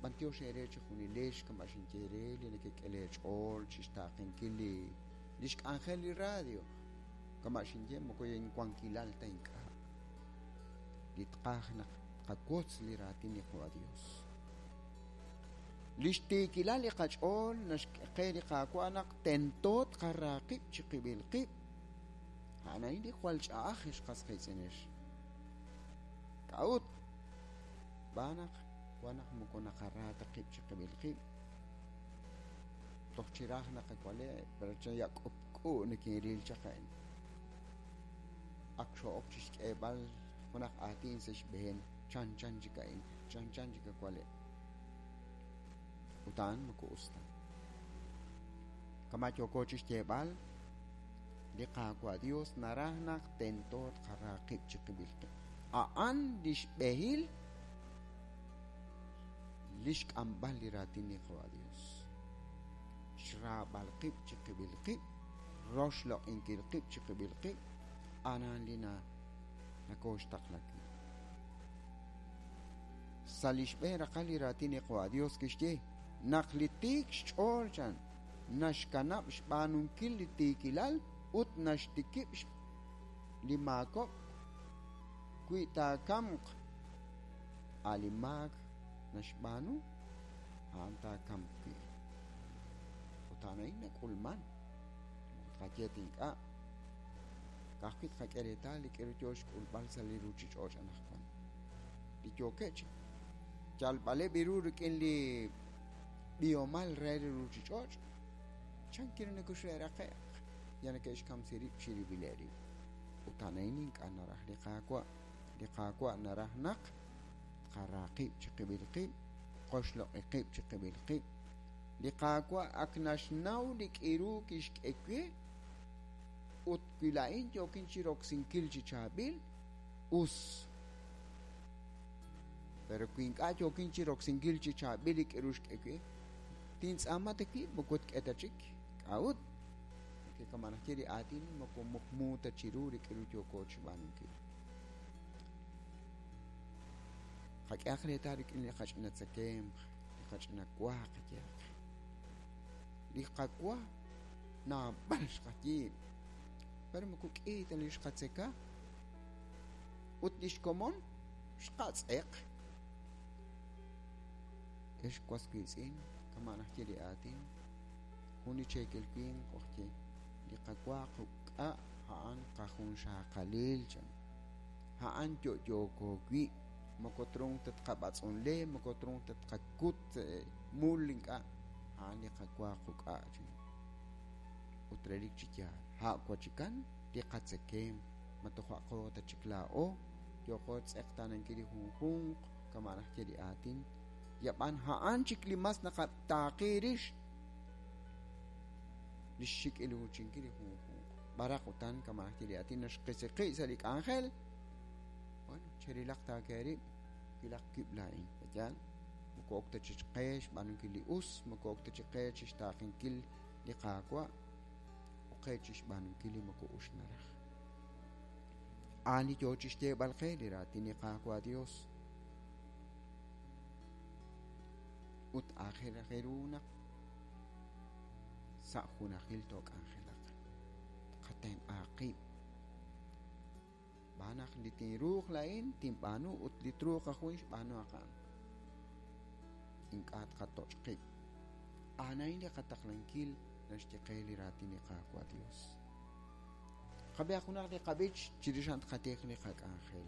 B'antiox eere chejunilex kama' xinye eere li nekek'e leech'ool chixtaaqenkil li lix k'anjel li radio. Kama' xinye moko inwankilal ta ink'a'. Li tqaj naq tqawotz li raatin li Qaawa' Dios. Lix tiikilal li qach'ool naxk'e qe li Qaawa' naq tento tqara qib' chiqib'il qib'. A'an a'in li jwal ch'a'aj ex qas qiitz'inex. K'a'ut? Xb'aan naq wan naq moko naqara ta qib' chiqib'il qib'. Toj chiraj naqawale', pero chan ya k'upk'u nikinril chaq a'in. Ak xo'ok chixk'eeb'al junaq aatin sa' xb'een chanchan chik a'in, chanchan chik awale'. Ut a'an moko us ta. Kama' yooko chixyeeb'al, li Qaawa' Dios naraj naq tento tqara qib' chiqib'il qib'. A'an lix b'ehil lix k'amb'al li raatin li Qaawa' Dios. Xraab'al qib' chiqib'il qib', roxloq'inkil qib' chiqib'il qib', a'an li na nakooxtaqla wi'. Sa' li xb'een raqal li raatin li Qaawa' Dios kixye naq li tiik xch'ool chan naxkanab' xb'aanunkil li tiikilal ut naxtikib' li maakob'k wi taakamq a' li maak naxb'aanu a'an taakamq wi'. Ut a'an a'in nak'ulman. Moko tqaye ta ink'a'. Ka'ajwi' tqak'e reetal li k'aru yo xk'ulb'al sa' li ruuchich'och' anaqwan. Li yookeb' chi yalb'aleb' ru rik'in li b'ihomal re li ruuchich'och', chan ru nakoxe'raqe'q ya neke'xkamsi rib' chirib'ileb' rib'. Ut a'an a'in ink'a' naraj li Qaawa'. Li Qaawa' naraj naq tqara qib' chiqib'il qib', qoxloq'i qib' chiqib'il qib'. Li Qaawa' ak naxnaw li k'iru kixk'e we ut wi laa'in yookin chiroksinkil chi chaab'il, us. Pero wi ink'a' yookin chiroksinkil chi chaab'il li k'iru xk'e we, tintz'aama ta wib' moko tk'e ta chik. K'a'ut? Porque kama' naxye li aatin moko muqmu ta chiru li k'iru yooko chixb'aanunkil. Qak'ehaq reetal rik'in li qach'ina tzakemq, li qach'ina wa qayehaq. Li qawa naab'al xqayiib', pero moko k'i ta li xqatzeka ut li xkomon xqatz'eq. Ex was wiitz'in, kama' naxye li aatin, jun li cheekel winq ojye, li qawa quk'a' a'an qajunxaqalil chan. A'an yo'yooko wi', moko trunk ta tqab'atz'unle, moko trunk ta tqakut mul ink'a', a'an li qawa quk'a' chan. Ut relik chi yaal, a' wachikan li qatzekemq, ma tojo'aqo ta chik laa'o, yooqo xtz'eqtaanankil li junjunq, kama' naxye li aatin, yab'an a'an chik li mas naqataaqi rix li xxik'iluuchinkil li junjunq. B'araq utan kama' naxye li aatin naxqisiqi' sa' li k'anjel, bueno, cherilaq taake rib', wilaq wib' laa'in, yaal, moko ok ta chi qe xb'aanunkil li us, moko ok ta chi qe chixtaaqenkil li Qaawa', ok qe chixb'aanunkil li moko us naraj. A'an li yoo chixyeeb'al qe li raatin li Qaawa' Dios. Ut aajel raj ru naq sa' junajil took'anjelaq. Tqatenq'a qib'. Xb'aan naq li tinruuq laa'in tinb'aanu ut li truuq ajwi' xb'aanu a'an. Ink'a' tqatoch' qib'. A'an a'in li qataqlankil naxye qe li raatin li Qaawa' Dios. Qab'ihaq junaq li qab'ich chirix a'an tqatij li qak'anjel.